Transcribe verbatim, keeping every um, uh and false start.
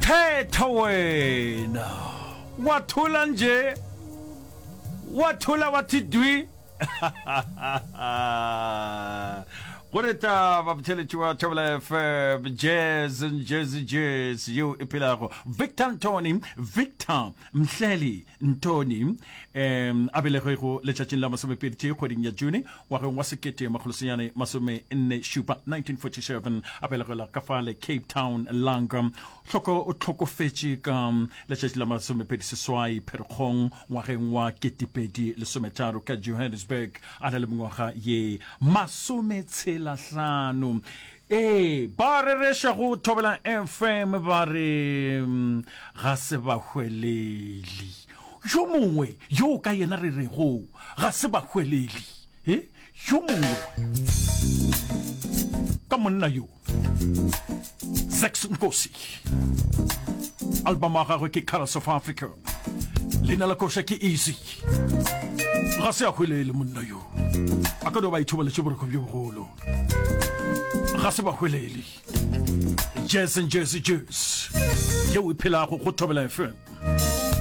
Thetha wena. Wa thola nje. Wa thola wa thi dwi. Go re taba botheletši wa Thobela F M, Jazz and Jazz Jazz yeo e phelago. Victor Ntoni, Victor Mhleli Ntoni, um a belegwego letšatšing la masomepedi tee kgweding ya June ngwageng wa sekete makgolo senyane masome nne šupa, nineteen forty-seven, a belegwela ka fale Cape Town, Langa. Hloko o hlokofetše ka letšatši la masomepedi seswai Pherekgong ngwageng wa ketepedi lesometharo ka Johannesburg, a na le mengwaga ye masometshelahlano. Ee, ba rereša go Thobela F M, ba re mm, ga se ba hwelele. Yo mongwe yo ka yena re rego ga se ba hwelele, e yo mongwe ka monna yo, Zex Nkosi, album wa gagwe ke Colors of Africa, leina la koša ke Easy. Ga se a hwelele monna yo, a ka no ba ithobaletše boroko bjo bogolo. Ga se ba hwelele. Jazz and Jazzy Jazz yeo e phelago go Thobela F M.